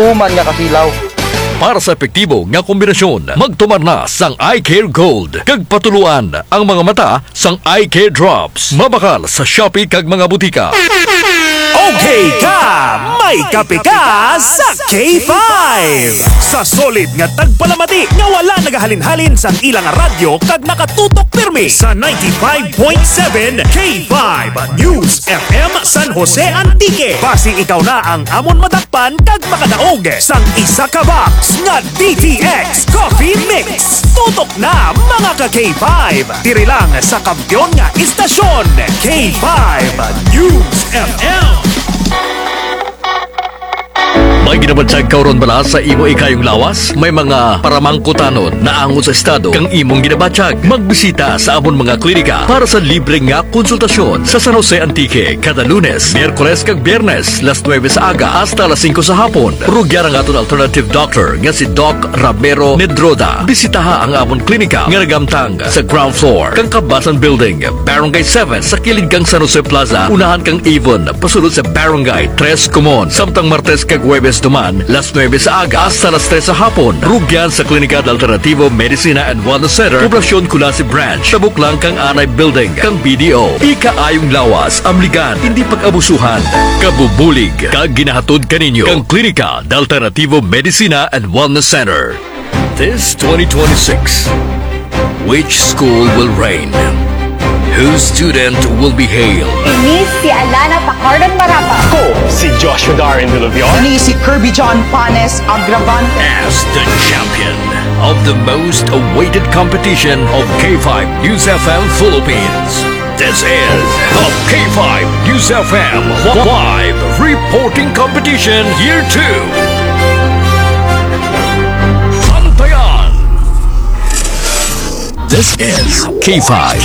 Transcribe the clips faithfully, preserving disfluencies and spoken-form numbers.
Tuman nga kasilaw. Para sa epektibo nga kombinasyon, magtumar na sang Eye Care Gold, kag patuloan ang mga mata sang Eye Care Drops. Mabakal sa Shopee kag mga butika. Okay ka, may kape ka sa K five. Sa solid nga tagpalamati nga wala nagahalin-halin sang ilang radyo kag nakatutok pirmi sa ninety-five point seven K five News F M San Jose Antique. Basi ikaw na ang amon madakpan kag makadaog sang isa ka box nga D T X Coffee Mix. Tutok na, mga ka K five. Diri lang sa kampiyon nga istasyon, K five News F M. May ginabatyag ka huron bala sa imo ikayong lawas? May mga paramangkutanon naangot sa estado kang imong ginabatyag? Magbisita sa amon mga klinika para sa libre nga konsultasyon sa San Jose Antique kada Lunes, Miyerkules kag Biyernes, las nuebe sa aga hasta las singko sa hapon. Rugyan ang aton alternative doctor nga si Doc Ramiro Nedroda. Bisitaha ang amon klinika nga nagamtang sa ground floor kang Kabasan Building, Barangay seven, sa kilid kang San Jose Plaza, unahan kang Avon, pasulod sa Barangay Tres Comon. Samtang Martes kag Huwebes duman, las nuebe sa aga hasta las tres sa hapon, rugyan sa Klinika de Alternativo Medicina and Wellness Center, Poblacion Culasi Branch, tabok lang kang Anay Building kang B D O. Ikaayong lawas, amligan, indi pag-abusuhan. Kabubulig kag ginahatod kaninyo kang Klinika de Alternativo Medicina and Wellness Center. This twenty twenty-six, which school will reign? Whose student will be hailed? Ini si Alana Pacardon Marapa. Ako si Joshua Darren Villavior. Ini si Kirby John Panes Agravante. As the champion of the most awaited competition of K five News F M Philippines. This is the K five News F M Live Reporting Competition Year two. Bantayan! This is K five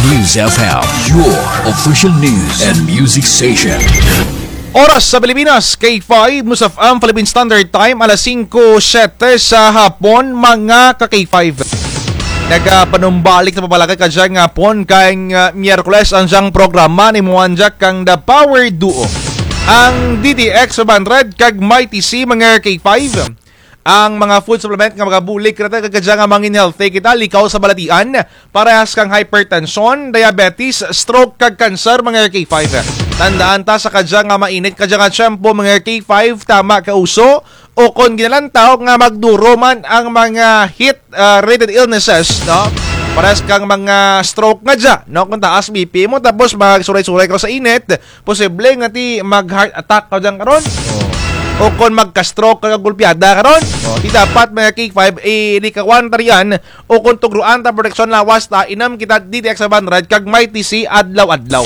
News F M, your official news and music station. Oras sa Pilipinas, K five News F M Philippine Standard Time, alas singko siyete sa hapon, mga ka K five. Nagapanumbalik na pagpalakay kadyang hapon kang, ah, Miyerkules ang dyang programa ni Muanjak kang The Power Duo. Ang D T X five hundred kag Mighty C, mga K five. Ang mga food supplement nga magabulig kanata kag kadyang mangin healthy kita, likaw sa balatian, parehas kang hypertension, diabetes, stroke, kag cancer, mga K five. Tandaan ta sa kadyang mainit, kadyang tiyempo, mga K five, tama ka uso, o kon ginalantaw nga magduro man ang mga heat, ah, related illnesses, no? Parehas kang mga stroke nga dya, no? Kon taas B P mo, tapos magsuray-suray ka sa init, posible nga ti mag-heart attack ka dyan karon. O kon magka-stroke ka, gulpiada karon. O, ti dapat, mga K five, ilikawan ta riyan, o kon tugroan ta proteksyon lawas ta, inom kita D T X five hundred kag Mighty C adlaw-adlaw.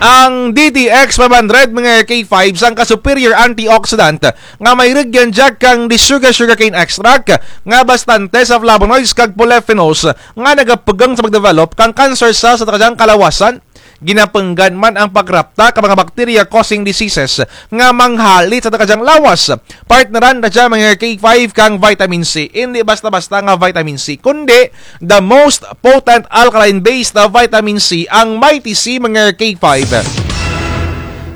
Ang D T X five hundred, mga K five, sangka superior antioxidant nga may rugyan dya kang the sugar sugarcane extract nga bastante sa flavonoids kag polyphenols nga nagapugang sa pagdevelop kang cancer cells sa kadyang kalawasan. Ginapunggan man ang pagrapta ka mga bacteria causing diseases nga manghalit sa kadyang lawas. Partneran ta dya, mga K five, kang vitamin C. Indi basta-basta nga vitamin C, kundi the most potent alkaline-based na vitamin C, ang Mighty C, mga K five.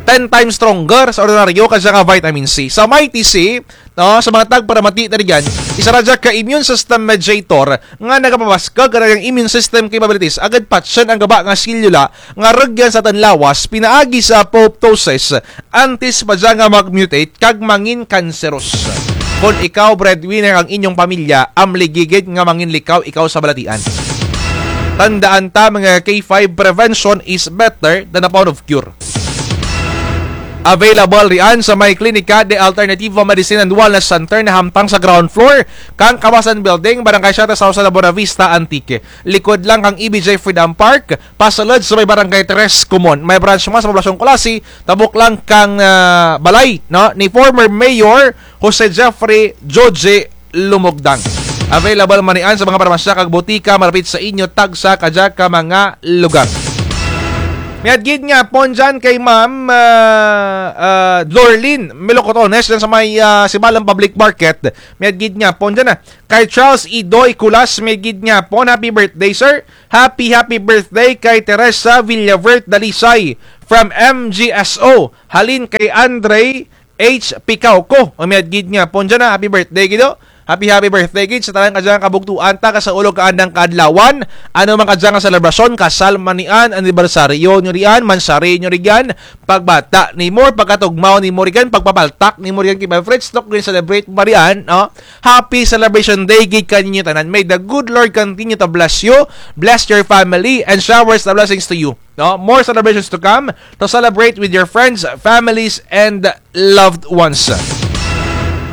Ten times stronger sa ordinaryo kadya nga vitamin C. Sa Mighty C, no, sa mga tagparamati ta riyan, isara dya ka immune system mediator nga nagapabaskug kang immune system capabilities, agud patyon ang gaba nga selula nga rugyan sa atun lawas pinaagi sa apoptosis, antes pa dya nga mag-mutate kag mangin cancerous. Kon ikaw breadwinner ang inyong pamilya, amligigid nga mangin likaw ikaw sa balatian. Tandaan ta, mga K five, prevention is better than a pound of cure. Available riyan sa may Klinika de Alternativo Medicine and Wellness Center na hamtang sa ground floor kang Kabasan Building, Barangay Siete Sauce, Buenavista, Antique. Likod lang kang E B J Freedom Park, pasulod sa may Barangay Tres Comon. May branch man sa Poblacion Culasi, tabok lang kang, ah, balay, no, ni former Mayor Jose Jeffrey Joje Lumogdang. Available man riyan sa mga parmasya kag botika malapit sa inyo, tagsa kadya ka mga lugar. Mayad gid nga hapon dyan kay Ma'am, ah, ah, Lorlyn Melocotones dyan sa may, ah, Sibalom Public Market. Mayad gid nga hapon dyan, ah. Kay Charles Idoy Culas, mayad gid nga hapon, happy birthday, sir. Happy, happy birthday kay Teresa Villavert Dalisay from M G S O. Halin kay Andre H Picauco. O, mayad gid nga hapon dyan, ha. Happy birthday gid, o. Happy, happy birthday gid sa tanan kadya nga kabugtuan ta, kasaulog ka andang kaadlawan. Ano man kadya nga selebrasyon, kasal man riyan, anibersaryo nyo riyan, mansari nyo riyan, pagbata nimo, pagkatugmaw nimo riyan, pagpapaltak nimo riyan kay Boy Fritz, no, kung celebrate mo riyan, no? Happy celebration day gid kaninyo tanan. May the good Lord continue to bless you, bless your family, and showers the blessings to you. No? More celebrations to come to celebrate with your friends, families, and loved ones.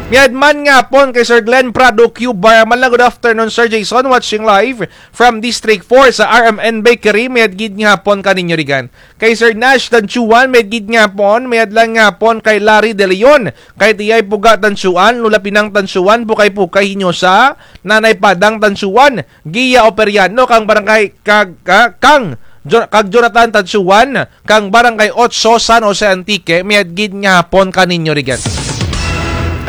Mayad man nga hapon kay Sir Glenn Prado Q Barman, good afternoon, Sir Jason, watching live from District four sa R M N Bakery. Mayad gid nga hapon kaninyo riyan. Kay Sir Nash Tanchuan, mayad gid nga hapon, mayad lang nga hapon kay Larry De Leon, kay Tiyay Puga Tanchuan, Lola Pinang Tanchuan, Pukay Pukay Hinyosa, Nanay Padang Tanchuan, Gia Operiano, kang barangay, kag, ka-, kang, Jo-, kag Jonathan Tanchuan, kang Barangay Otso, San Jose, Antique, mayad gid nga hapon kaninyo riyan.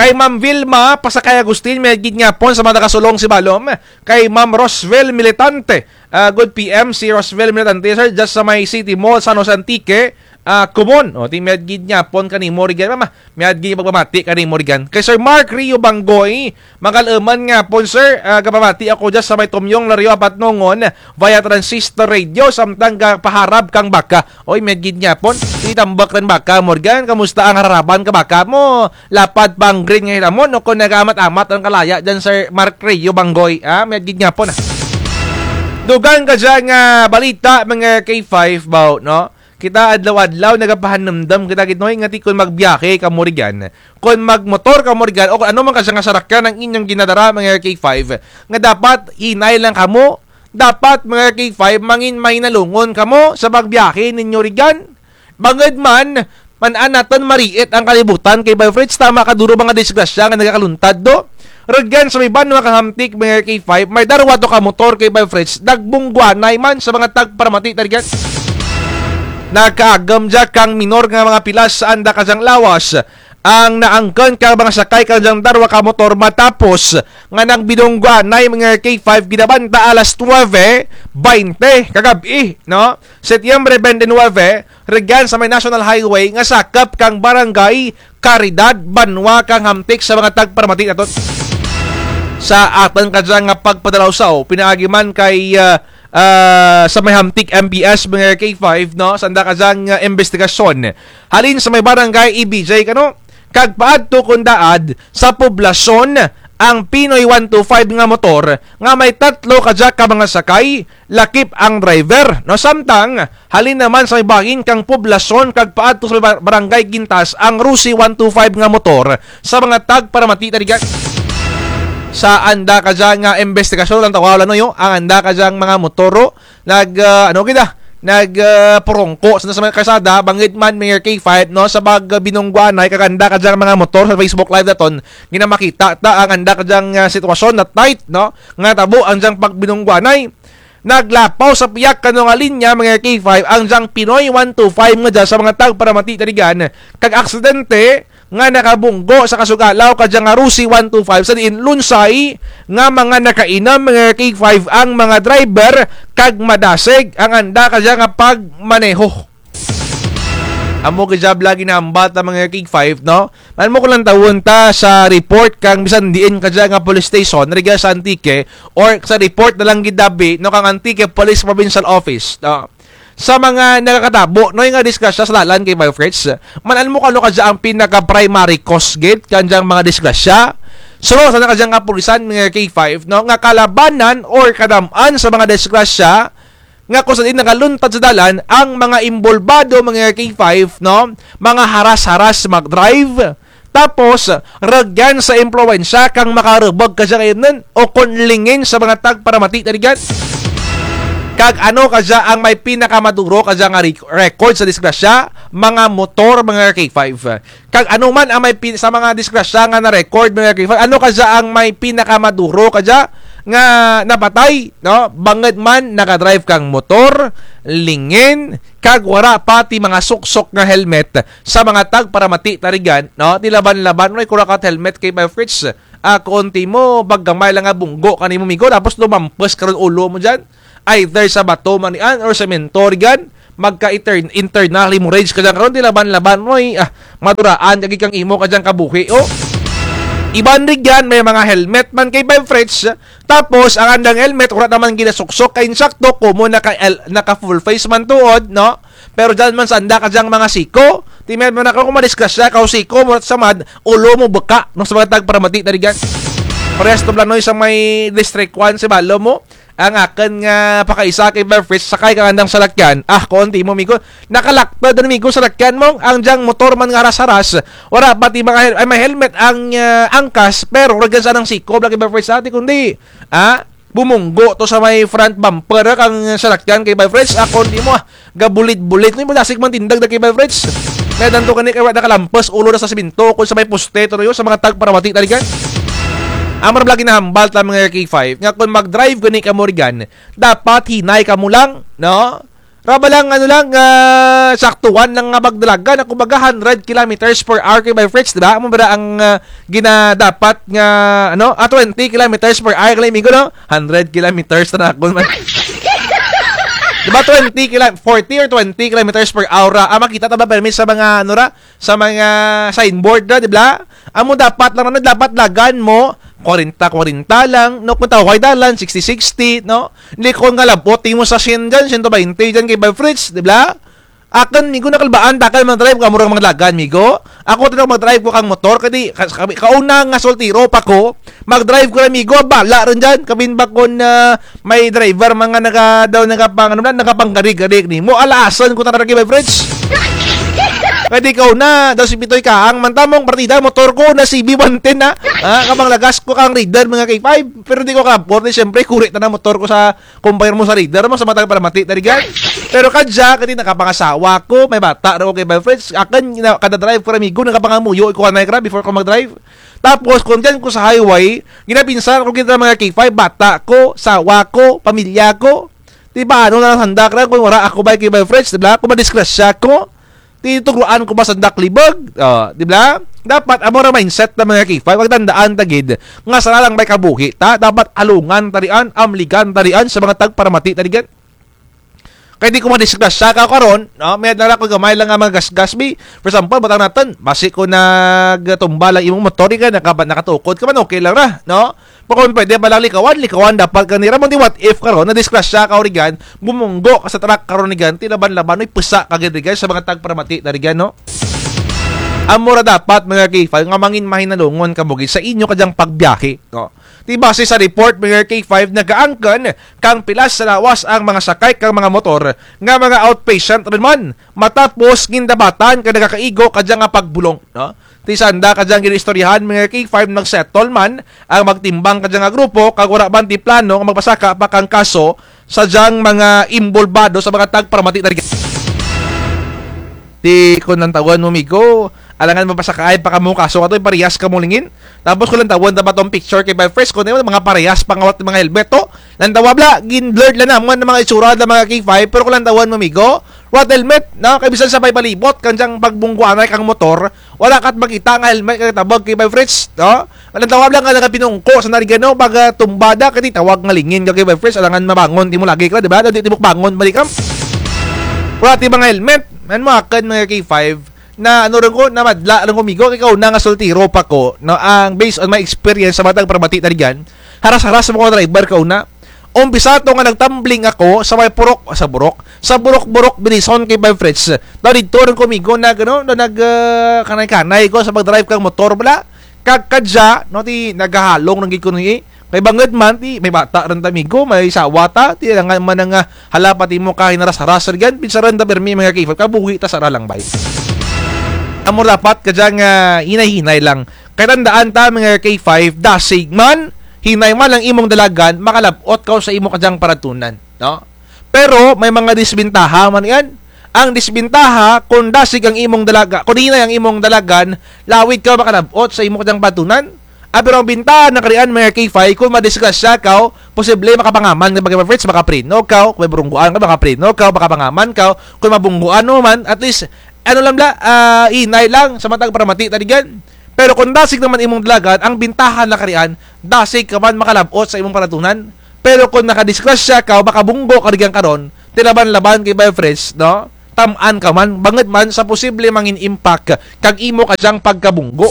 Kay Ma'am Vilma Pasakay Agustin, mayad gid nga hapon sa mga nakasulong sa ibalom. Kay Ma'am Rosvel Militante, ah, good P M, si Rosvel Militante, sir, dyan sa may City Mall, San Jose, Antique, ah, kumon. O, ti mayad gid nga hapon kanimo riyan, mama. Mayad gid pagpamati kanimo riyan. Kay Sir Mark Rio Banggoy, magal-a man nga hapon, sir, ah, gapamati ako dyan sa may Tumyong Lario Apat Nongon, via transistor radio, samtang gapaharab kang baka. Oy, mayad gid nga hapon. Itambak ran baka mo riyan. Kamusta ang hararaban ka baka mo? Lapad pa ang green nga hinamon, o kon nagaamat-amat ang kalaya dyan, Sir Mark Rio Banggoy. Ah, mayad gid nga hapon, ah. Dugang kadya nga balita, mga K five, baw, no? Kita adlaw-adlaw nagapahanumdum kita gid, no, nga ti kon magbiyahe kamo riyan, kon magmotor kamo riyan, o kon ano man kadya nga sarakyan ang inyong ginadara, mga K five, nga dapat hinay lang kamo, dapat, mga K five, mangin mahinalungon kamo sa pagbiyahe ninyo riyan. Bangud man, man-an natun mariit ang kalibutan kay Boy Fritz, tama kaduro mga disgrasya nga nagakaluntad do. Rugyan sa may banwa kang Hamtic, mga K five, may darwa to ka motor kay Boy Fritz, nagbungguanay man sa mga tagparamati ta rugyan. Nakaagum dya kang minor nga mga pilas sa anda kadyang lawas ang naangkun kang mga sakay kadyang darwa ka motor matapos nga nagbinungguanay, mga K five, ginabanta alas nuwebe baynte kagab-i, no? Setyembre baynte nuwebe, rugyan sa may National Highway nga sakup kang Barangay Caridad, banwa kang Hamtic sa mga tagparamati natun. Sa atun kadya nga pagpadalawsaw, pinaagi man kay, ah, ah, sa may Hamtic M P S, mga K five, no? Sa anda kadyang, ah, imbestigasyon. Halin sa may Barangay E B J kano, kag paadto kon daad sa poblasyon ang Pinoy one two five nga motor nga may tatlo kadya ka mga sakay, lakip ang driver, no? Samtang halin naman sa may bahin kang poblasyon kag paadto sa may bar-, Barangay Gintas ang Rusi one two five nga motor sa mga tagparamati ta rugyan. Sa anda kadya nga imbestigasyon, lang tawaw lang, no, yo, ang anda kadyang mga motor, o, nag, ah, ano kita, nag, ah, purungko sa, sa mga karsada, bangud man, mga K five, no, sa pag, ah, binungguanay kag anda kadyang mga motor sa Facebook Live natun, ginamakita ta ang anda kadyang, ah, sitwasyon na tight, no, nga tabo ang dyang pagbinungguanay. Naglapaw sa piyak kano nga linya, mga K five, ang dyang Pinoy one two five nga dya sa mga tagparamati ta rugyan, kag aksidente nga nakabunggo sa kasugalaw kadya nga Rusi one two five, sa diin lunsay nga mga nakainum, mga K five, ang mga driver kag madasig ang anda kadya nga pagmaneho. Amo kadya bala ginahambal ta, mga K five, no? Man-an mo kon lantawun ta sa report kang bisan diin kadya nga police station, rugya sa Antique, or sa report na lang gid abi, no, kang Antique Police Provincial Office, no? Sa mga nakakatabo, no, nga disgrasya sa dalan kay Boy Fritz, man-an mo kon ano kadya ang pinaka-primary cause gid kang dyang mga disgrasya? Suno sa anda kadyang kapulisan, mga K five, no, nga kalabanan or kadam-an sa mga disgrasya nga kon sa diin nakaluntad sa dalan ang mga imbolbado, mga K five, no? Mga haras-haras mag-drive. Tapos, rugyan sa impluwensya kang makarubug kadya nga imnun, o kon lingin sa mga tagparamati ta rugyan. Kag ano kadya ang may pinakamaduro kadya nga rec-, record sa disgrasya? Mga motor, mga K five. Kag ano man ang may pin-, sa mga disgrasya nga na-record, mga K five, ano kadya ang may pinakamaduro kadya nga napatay, no? Bangud man nakadrive kang motor, lingin, kag wara pa ti mga suksok nga helmet sa mga tagparamati ta rugyan, no? Ti laban-laban, no? Kung wara ka helmet kay Boy Fritz, ah, kon ti mo, paggamay lang nga bunggo kanimo migo, tapos lumampus karon ulo mo dyan. Either sa bato man yan or semento rugyan, magka-intern-, internal hemorrhage ka dyan karon, ti laban-laban, oy, ah, maduraan, kagi kang imo ka dyang kabuhi, o. Iban rugyan, may mga helmet man kay Vibe Fritz, tapos, ang andang helmet, wara naman ginasuksok, kay insakto, komo naka-, el-, naka-full face man tuod, no? Pero dyan man sanda ka dyang mga siko, ti may man ako kung madisgrasya, kaw siko, murat samad, ulo mo baka, no, sa mga tagparamati, tarigan. Parehas to, Blanoy, sa may District one, si balo mo, ang akun nga pakaisa kay Vibe Fritz, sakay kang andang salakyan. Ah, kuon ti mo, migo. Nakalakta din, migo, salakyan mo. Ang dyang motor man nga haras-haras. Wara pa ti mga hel-, ay, may helmet ang, ah, angkas, pero rugyan sa andang siko, bala kay Vibe Fritz, ati, kundi, ah, bumunggo to sa may front bumper, ah, kang salakyan kay Vibe Fritz. Ah, kuon ti mo, ah, gabulit-bulit. Ni mo dasig man tindag da kay Vibe Fritz. May danto kani kay wara nakalampas, ulo na sa simento, kung sa may poste, to, sa mga tagparamati, tarigan. Amar bala ginahambal ta mga K five, nga kung mag-drive gani kamo rigan, dapat hinay kamo lang, no? Raba lang, ano lang, ah, saktuan lang nga magdalagan, ako baga hundred kilometers per hour kay Vibe Fritz, di ba? Amo ba ang, ah, ginadapat nga, ano, ah, twenty kilometers per hour, kay migo, no? Hundred kilometers na ako man. Di ba, twenty kilo-, forty or twenty kilometers per hour ra? Ah, makita ta ba permi sa mga, ano ra? Sa mga signboard ra, di ba? Amo dapat lang, ano, dapat lagan mo, kwarenta, kwarenta lang, no? Kung tawag dalan, sixty, sixty, no? Hindi ko nga labot, ti mo sa syen dyan, siyento baynte dyan kay Vibe Fritz, di ba? Akun, migo, nakalbaan, takal mag-drive ka, murag mga dalagan, migo. Ako, tinawag mag-drive ko kang motor, kadi, ka-, ka-, kauna nga soltero pa ko, mag-drive ko ra, migo, bala rin dyan. Kabin ba kon, ah, may driver, mga naga-, daw nagapang-, ano na, nagapanggarig-garig nimo. Alaasan ko na kay Vibe Fritz. Kadi kauna, daw si Pitoy Kaang, man tamong partida, motor ko na C B one ten na. Ah, kabang lagas ko kang Raider, mga K five. Pero di ko ka-afford, siyempre, kuri ta na motor ko sa compare mo sa Raider, mo sa matag para mati, tarigan. Pero kadya, kadi nakapangasawa ko, may bata ra ko kay Vibe Fritz. Akun, gina-, kada drive ko ra, migo, nakapangamuyo, iko anay kara before ko mag-drive. Tapos, kung dyan ko sa highway, ginapinsan ko kita mga K five, bata ko, sawa ko, pamilya ko. Di ba, ano na lang sanda kara, kung wara ako ba kay Vibe Fritz, di ba? Kung madisgrasya ko, ti tugruan ko ba sanda kalibog? O, di ba? Dapat, amo ra mindset na mga K five, pagtandaan ta gid, nga sara lang may kabuhi ta, dapat alungan ta rian, amligan ta rian, sa mga tagparamati ta rian. Kay di ko madisgrasya ka karon, no? May dala ko gamay lang nga mga gasgas, bi. For example, butang natun, basi ko nagtumba lang imong motor, ka, naka-, nakatukod ka man, okay lang ra, no? Pero kung pwede ba lang likawan, likawan dapat ka nira. Mo ti what if karon, nadisgrasya ka rigan, bumunggo ka sa truck karon rigan, ti laban-laban, oy, pusa ka gid rigan sa mga tagparamati na rigan, no? Amo ra dapat, mga K five, nga mangin mahinalungon kamo gid sa inyo kadyang pagbiyahe, no? Ti base sa report, mga K five, nagaangkon kang pilas sa lawas ang mga sakay kang mga motor nga mga outpatient run man, matapos gindabatan kang nagakaigo kadya nga pagbulong, no? Ti sanda kadyang ginaistoryahan, mga K five, nagsettle man ang magtimbang kadya nga grupo, kag wara man ti plano nga magpasaka pa kang kaso sa dyang mga imbolbado sa mga tagparamati na rigan. Ti kon lantawon mo, migo, alangan mapasakaay pa kamo kaso kato, parehas kamo lingin. Tapos kon lantawon ta ba tong picture kay Vibe Fritz, kon mga parehas pa nga wara ti mga helmet to. Lantawa bala, gin-blurred lang na, mga, mga itsura na mga K five, pero kon lantawon mo, migo, wara ti helmet, no? Kay bisan sa may palibot, kang dyang pagbungguanay kang motor, wara kat makita nga helmet kang tabag kay Vibe Fritz, no? Ang tawag lang nga nagapinungko sa narigano, pag, ah, tumbada, kadi tawag nga lingin ka kay Vibe Fritz, alangan mabangon, ti mo lagi ka, di ba? Di, di mo bangon, balik ka. Wara ti mga helmet, man mo akun mga K five, na ano rin ko, namadla rin ko, migo, kay kauna nga soltero pa ko, no? Ang based on my experience sa matag paramati na rigan, haras-haras mo ko driver kauna, Umpisa to nga nagtumbling ako sa may purok, sa burok, sa burok-burok, Binison kay Vibe Fritz. Daw didto rin ko, migo, nag, ano, na nag, ah, kanay-kanay ko sa pag-drive kang motor bala. Kag kadya, no, ti nagahalong rin gid ko ni, eh. Kay bangud man, ti may bata rin ta, migo, may sawa ta, ti langan man nga, ah, hala pa ti mo kahinaras-haras rin, pinsaran ta pirmi, mga K five, kabuhi ta sara lang, bay. Amo dapat kadya nga, ah, hinay-hinay lang. Kay tandaan ta, mga K five, dasig man, hinay man ang imong dalagan, makalab-ot kaw sa imo kadyang paratunan, no? Pero may mga disbintaha man yan. Ang disbintaha, kung dasig ang imong dalaga, kung hinay ang imong dalagan, lawid kaw makalab-ot sa imo kadyang paratunan. Ah, pero ang bintaha na karian, mga K five, kung madisgrasya kaw, posible makapangaman ka, mga Fritz, makapreno kaw, kung may burungguan ka, makapreno kaw, makapangaman kaw, kung mabungguan mo man, at least, ano lang bala, ah, hinay lang sa matag paramati ta rigan. Pero kung dasig naman imong dalagan, ang bintaha na karian, dasig ka man makalab-ot sa imong paratunan. Pero kung nakadisgrasya ka o makabunggo ka rigan karon, Ti laban-laban kay Vibe Fritz, no? Tam-an ka man, bangud man sa posible mangin impact kang imo kadyang pagkabunggo.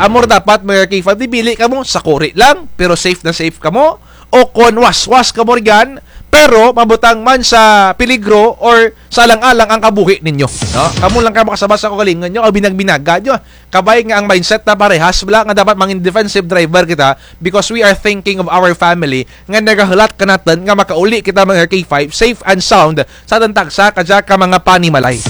Amo ra dapat, mga K five, ti pili kamo, sakuri lang, pero safe na safe kamo, o kon waswas kamo rigan, pero mabutang man sa peligro or sa alang-alang ang kabuhi ninyo, no? Kamo lang kay makasaba sa kaugalingon nyo, o binag-binaga nyo. Kabay nga ang mindset ta parehas bala nga dapat mangin defensive driver kita because we are thinking of our family nga nagahulat kanatun nga makauli kita, mga K five, safe and sound sa atun tagsa kadya ka mga panimalay.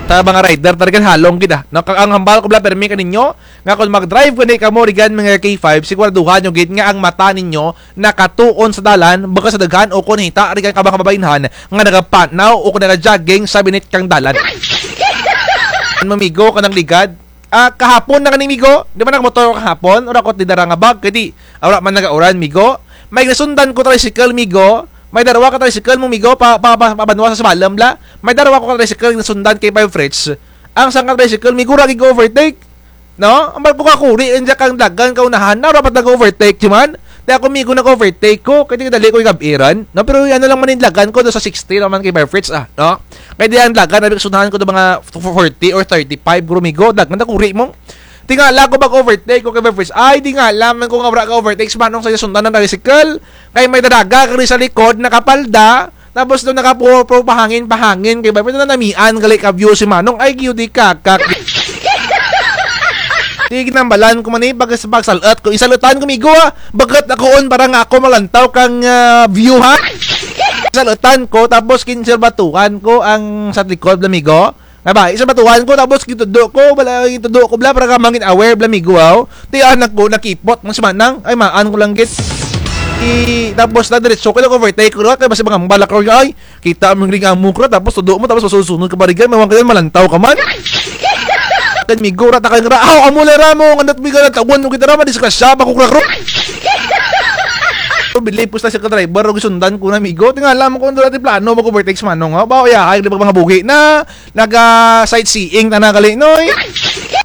Sa mga rider, talagang halong gid, ah. No, ang hambal ko bala pirmi kaninyo nga kon mag-drive gani kamo rigan, mga K five, siguraduhan nyo gid nga ang mata ninyo nakatuon sa dalan, bukut sa daghan o kon hita rigan ka mga kababainhan nga nagapanaw o kon nagajogging sa binit kang dalan. Ano, migo, kanang ligad? Ah, kahapon na gani, migo. Di ba nakamotor ko kahapon? Wara ko ti dara nga bag, kay di, wara man nagauran, migo. May nasundan ko tricycle, migo. May darwa ka tricycle mo, migo, pa, pa, pa, pabanwa sa Sabalom bala. May darwa ko ka tricycle nasundan kay Vibe Fritz. Ang sangka tricycle, migo, wara gid ka overtake. No? Ambal ko kakuri, andya kang dalagan kaunahan na, wara pa nag-overtake, di man? Ti ako, migo, nag-overtake ko, kay ti kadali ko igab-i ran. No? Pero ano lang man in dalagan ko, do sa sixty lang man kay Vibe Fritz, ah, no? Kay ti ang dalagan, abi, kasundahan ko do mga forty or thirty-five, guro, migo, dalagan, kakuri mo. Tingala ko mag-overtake ko kay Vibe Fritz. Ay, tingala man ko nga wara ka-overtake si Manong sa iya sundan ang tricycle. Kay may daraga kari sa likod, nakapalda. Tapos do nakapu-, puro pahangin-pahangin kay Vibe Fritz, nanamian gali ka view si Manong. Ay, giyo di kakak. Ti ginambalan ko man, eh, pag-, pagsal-ut ko. Isal-utan ko, migo, ah. Bukut ako on para nga ako malantaw kang, ah, view, ha? Isal-utan ko, tapos kinsirbatuhan ko ang sa likod, bala, migo. Nga ba, isal-batuhan ko, tapos gintudlo ko, bala, gintudlo ko, bala, para ka mangin aware, bala, migo, aw. Ti anak ko, nakipot man si Manang, ay, maan ko lang gid. I, tapos na, diretso ko, nag-overtake ko, kay basi mga balak ko, ay, kita mo ring amo ko, tapos tudlo mo, tapos masunod-sunod ka pa rigan, mawang ka yan, malantaw ka man. Kan migo, rata ka nga, aw, amo la ra mo, nga nat migo, nataguan mo kita ra, madisgrasya, pa ko krakro. Bilib ko sa ka driver, og sundan ko na, migo, tingala man ko, dati plano, mag-overtake si Manong, ha? Bawo, ya, ay, di ba, mga buhi na, naga-sightseeing tana gali, noy.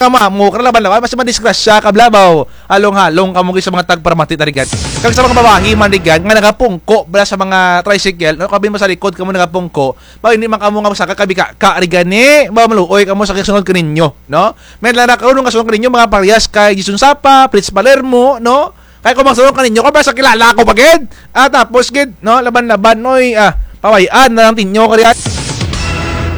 Kamamo, kalaban-laban, basi madisgrasya ka bala, baw. Halong-halong kamo gid sa mga tagparamati tarigan. Kag sa mga babayi man rigan, nga nagapungko bala sa mga tricycle, no? Kabi mo sa likod kamo nagapungko, baw, hindi man kamo nga masaka kabi ka, ka rigan, eh. Baw, maluoy kamo sa kasunod kaninyo, no? May lara karon nga sunod kaninyo, mga parehas kay Jason Sapa, Fritz Palermo, no? Kay kung magsulong kaninyo, kung basta kilala ko pa gid. Ah, tapos gid, no, laban-laban, oy, ah, paway-an na lang tinyo kariyan.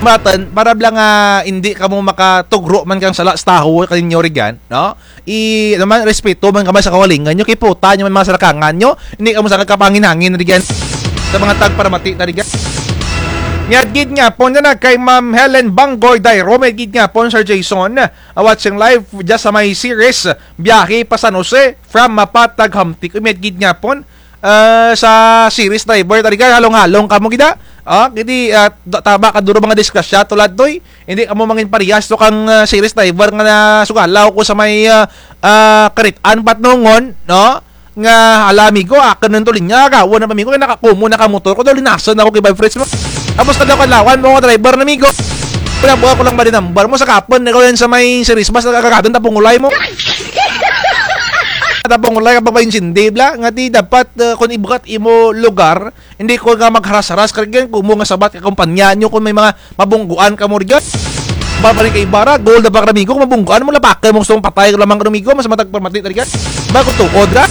Matan, para bala nga hindi kamo makatugro man kang sala sa tawo kaninyo rigan, no? I, ano man, respeto man kamo sa kaugalingon nyo, kiputa nyo man mga salakangan nyo, hindi kamo sa kagkapangin-hangin rigan sa mga tagparamati tarigan. Miadto gid nga pon na kay Ma'am Helen Banggoy Dairo, miadto gid nga pon Sir Jason, ah, watching live dyan sa may series, biyahe pa San Jose, from Mapatag Hamtic. Uy, miadto gid nga pon, ah, sa series driver, tarigan, halong-halong kamo gid, ah. Ah, kay ti, ah, da-, tama ka duro mga disgrasya, tulad toy. Hindi kamo mangin parehas to kang, ah, series driver nga nasugalaw ko sa may, ah, ah, Karit-an, Patnongon, no? Nga, hala, migo, akun nang tulinya, gawa na pa, migo, kay nakakumo na ka motor ko, daw linasan ako kay Vibe Fritz mo. Tapos kadlaw-kadlawan mo nga driver na, migo. Kaya buha ko lang ba din number mo, sa kapon, ikaw yan sa may series bus, nagkakagatun, tapong ulay mo. Tapong ulay, kapag pa-insindi, bala, nga ti dapat, eh, kung ibukat imo lugar, hindi ko nga magharas-haras, karigan, kumo nga sabat ka kumpanya nyo, kung may mga mabungguan kamo rigan. Babalik kay Ibarra, goal na ba, karamigo, kung mabungguan mo, lapakan mo, gusto mong patay, ka lamang, karamigo, mas matag pamati, tarigan. Bago tuod ra.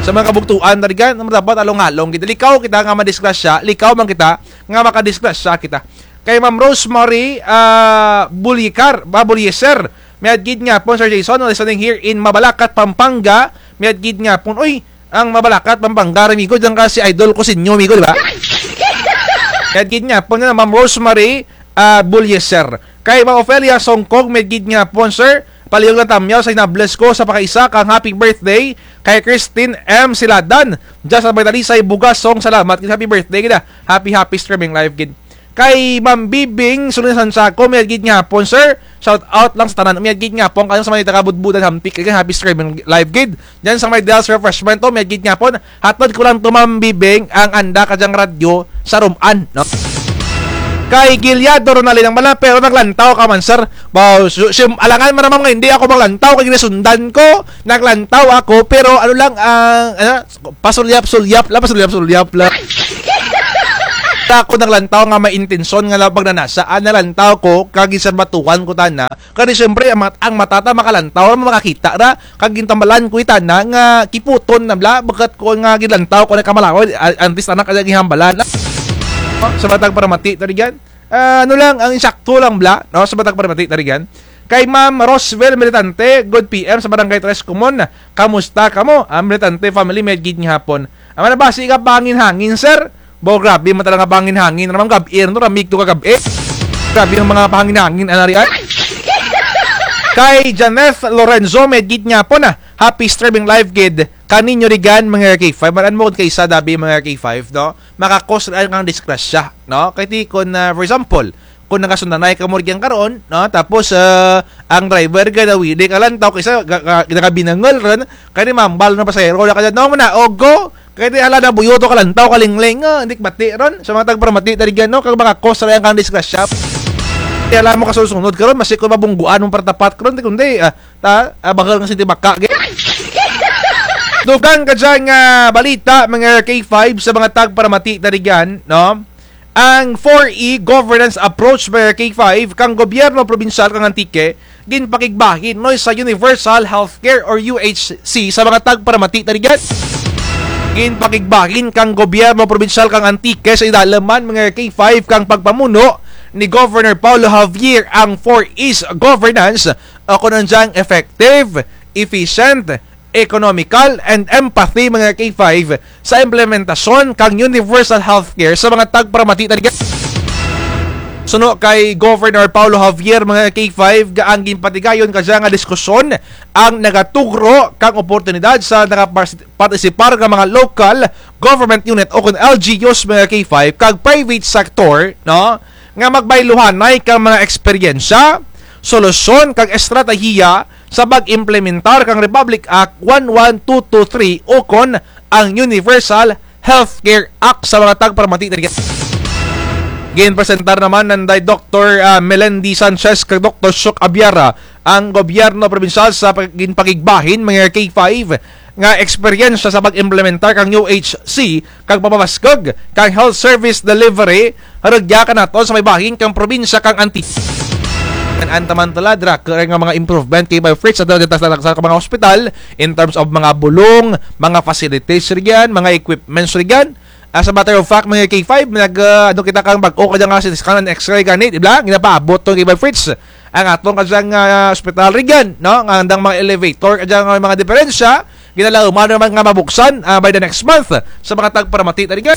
Sa mga kabugtuan, tarigan, dapat along-along kita. Likaw kita nga madisgrasya, likaw man kita nga makadisgrasya kita. Kay Ma'am Rosemary, ah, Bulikar, ba, Bulyeser. Miadto gid nga pon, Sir Jason, listening here in Mabalacat, Pampanga. Miadto gid nga pon, uy, ang Mabalacat, Pampanga, ramigo, dyan ka si idol ko sinyo, amigo, di ba? Miadto gid nga pon na Ma'am Rosemary, ah, Bulyeser. Kay Ma'am Ofelia Songkog, miadto gid nga pon, sir. Palihog lang tamyaw sa hinables ko sa pakaisa kang happy birthday kay Christine M Siladan. Dyan sa may Talisay, Bugasong, salamat. Happy birthday gid, ah. Happy, happy streaming live gid. Kay Ma'am Bibing, Sulinasan Sako, miadto gid nga pon, sir. Shout out lang sa tanan. Miadto gid nga pon, kayong sa mga taga Budbudan, Hamtic, kay happy streaming live gid. Dyan sa may Del's Refreshment, oh, miadto gid nga pon. Hatod ko lang to, Ma'am Bibing, ang anda kadyang radyo sa Ruman, no? Kay Gilyado Ronaldin ang bala, pero naglantaw ka man, sir. Wow, su-, sim-, alangan man naman nga hindi ako maglantaw, kay ginasundan ko, naglantaw ako, pero ano lang, ang, ano, pasulyap-sulyap lang, pasulyap-sulyap lang. Ako naglantaw nga may intensyon nga lang pagnanasa, ah, naglantaw ko, kag ginserbatuhan ko tana. Kay siyempre, ang mat-, ang mata ta makalantaw ra, makakita ra, kag gintambalan ko i tana nga kiputon na bala, bukut ko nga ginlantaw ko na kamalaw, ah, antes tana kaya ginhambalan. Sa mga tagparamati, ta rugyan. Ah, ano lang, ang insakto lang bala, no? Sa mga tagparamati, ta rugyan. Kay Ma'am Roswell Militante, good P M sa Barangay Tres Comon. Kamusta kamo? Ang Militante family, mayad gid nga hapon. Amo na ba, sige, pahangin-hangin, sir? Bo, grabe man talaga pahangin-hangin. Ramang gab-i, no? Ramig to kagab-i. Grabe ang mga pahangin-hangin, anari, ay. Kay Janeth Lorenzo, mayad gid nga hapon, ah. Happy streaming live gid kaninyo rugyan, mga K five. Maran mo kung kaysa dabi, mga K five, no? Makakos ra kang disgrasya, no? Kay ti kon, ah, for example, kon nagasundanay kamo rugyan karon, no? Tapos, ah, ang driver gad-a wili kalantaw kaysa ga-, ga-, nagabinangol run, kay ti mambal na pasahero na kadya, no, muna, ogo, kay ti hala na buyo to kalantaw, kalingling, ah, indi kabati run. Sa mga tagparamati, ta rugyan, no? Kag makakos ra kang disgrasya. Ti hala mo kasunod-sunod karon, masi kon mabungguan mo para tapat karon, ti kundi, ah, ta, ah, bakal nga sinti baka, ge. Dugang kadya nga balita, mga K five, sa mga tagparamati, ta rugyan, no? Ang four E governance approach, mga K five, kang gobyerno probinsyal kang Antique, ginpakigbahin, no, sa universal healthcare or U H C sa mga tagparamati, ta rugyan. Ginpakigbahin kang gobyerno probinsyal kang Antique sa idalaman, mga K five, kang pagpamuno ni Governor Paulo Javier ang four E's governance, o kon ano dyang effective, efficient, economical, and empathy, mga K five, sa implementasyon kang universal healthcare sa mga tagparamati, ta rugyan. Suno kay Governor Paulo Javier, mga K five, nga ang ginpatigayon kadya nga diskusyon ang nagatugro kang oportunidad sa nagapartis-, partisipar nga mga local government unit o kon L G Us, mga K five, kag private sector, no, nga magbayluhanay kang mga eksperyensya, solusyon, kag estratehiya sa pag-implementar kang Republic Act one one two two three o kon ang Universal Healthcare Act sa mga tagparamati, ta rugyan. Ginpresentar naman nanday Doktor, ah, Melendi Sanchez kag Doktor Shuk Abiara ang gobyerno probinsyal sa pag-, ginpakigbahin, mga K five, nga eksperyensya sa pag-implementar kang U H C kag pamabaskug kang health service delivery rugya kanaton sa may bahin kang probinsya kang Antique. An-an ta man tulad, raku ra nga mga improvement kay Bay Fritz sa, sa, sa, sa mga hospital in terms of mga bulong, mga facilities rugyan, mga equipments rugyan. As a matter of fact, mga K five, nag, ah, ano kita kang bag-o kadya nga C T scan and X-ray gani, di ba? Ginapaabot to kay Bay Fritz. Ang aton kadyang, ah, ospital rugyan, no? Nga andang mga elevator, kadyang mga diperensya, ginalauman naman nga mabuksan, ah, by the next month sa mga tagparamati, ta rugyan.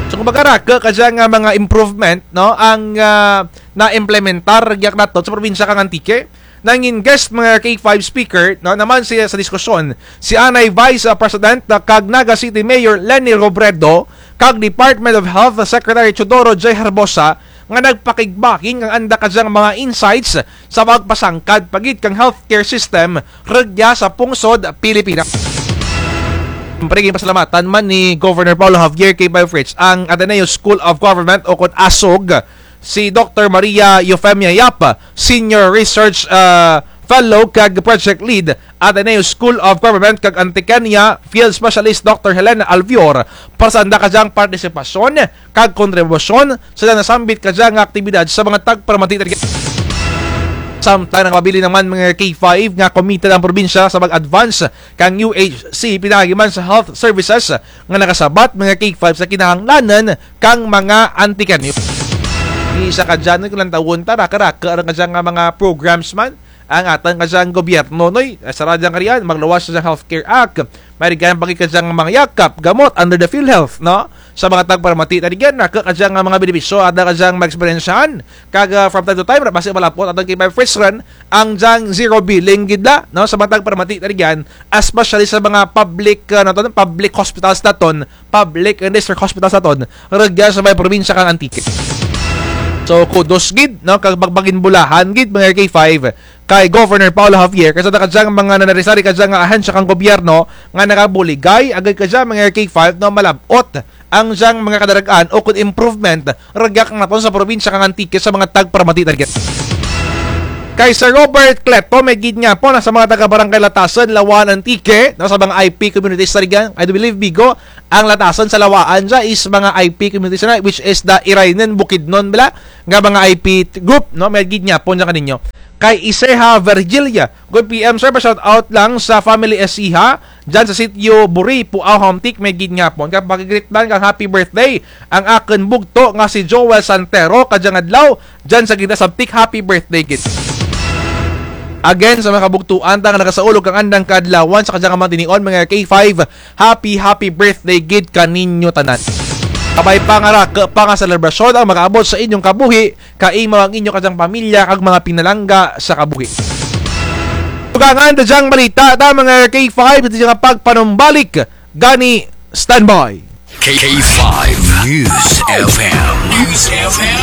So, kumbaga, raku kadyang, ah, mga improvement, no? Ang, ah, naimplementar rugya kanaton sa probinsya kang Antique. Nangin guest, mga K five speaker, no? Naman siya sa diskusyon, si anay Vice, ah, President, ah, kag Naga City Mayor Leni Robredo, kag Department of Health Secretary Teodoro J Herbosa, nga nagpakigbahin kang anda kadyang mga insights sa pagpasangkad pa gid kang healthcare system rugya sa pungsod Pilipinas. Siyempre, ginpasalamatan man ni Governor Paulo Javier kay Bay Fritz ang Ateneo School of Government o kon ASOG, si Doktor Maria Eufemia Yap, Senior Research, ah, Fellow kag Project Lead, Ateneo School of Government kag Antiqueña Field Specialist Doktor Helena Alvior, para sa anda kadyang partisipasyon kag kontribusyon sa nasambit kadyang aktibidad sa mga tagparamati, ta rugyan. Samtang nagapabilin naman, mga K five, nga committed ang probinsya sa pag-advance kang U H C pinaagi man sa health services nga nakasabat, mga K five, sa kinahanglanan kang mga Antiqueño. Isa kadya, no, kon lantawon ta, raku-raku ra kadya nga mga programs man ang atun kadyang gobyerno, noy. Eh, sara dyang karian, magluwas sa Healthcare Act. May rugyan pa gid kadyang mga yakap, gamot under the PhilHealth, no? Sa mga tagparamati, ta rugyan, raku kadyang mga benepisyo, anda kadyang maeksperyensyahan. Kag, ah, from time to time, basi malapot atun kay Bay Fritz run, ang dyang zero billing gid la, no? Sa mga tagparamati, ta rugyan, especially sa mga public, ah, ano to, public hospitals naton, public and district hospitals naton, rugya sa may probinsya kang Antique. So, kudos gid, no, kag pagpaginbulahan gid, mga K five, kay Governor Paulo Javier, kay sa anda kadyang mga nanari-sari kadyang nga ahensya kang gobyerno, nga nagabuligay, agud kadya, mga K five, no, malab-ot ang dyang mga kadarag-an o kon improvement, rugya kanaton sa probinsya kang Antique sa mga tagparamati, ta rugyan. Kay Sir Robert Cleto, may gid nga po, nasa mga taga Barangay Latasan, Laua-an, Antique, no, sa mga I P communities sa Rigan, I do believe, Bigo, ang Latasan sa Laua-an dya is mga I P communities na, which is the Iraynon, Bukidnon, bala, nga mga I P t-, group, no, may gid nga po dya kaninyo. Kay Iseha Virgilia, good P M, sir, pa-shout out lang sa family Iseha, dyan sa sitio Buri, Puao, Hamtic, may gid nga po. Kay paki-greet lang kang happy birthday, ang akun bugto nga si Joel Santero, kadyang adlaw, dyan sa Ginda Sabtic, happy birthday gid. Again, sa mga kabugtuan ta nga nagasaulog kang andang kaadlawan sa kadyang mga tinion, mga K five, happy, happy birthday gid kaninyo tanan. Kabay pa nga raku pa nga selebrasyon ang makaabot sa inyong kabuhi, kaimaw ang inyo kadyang pamilya kag mga pinalangga sa kabuhi. Dugangan ta dyang balita ta, mga K five, dyang pagpanumbalik gani, standby. K five News F M. News F M.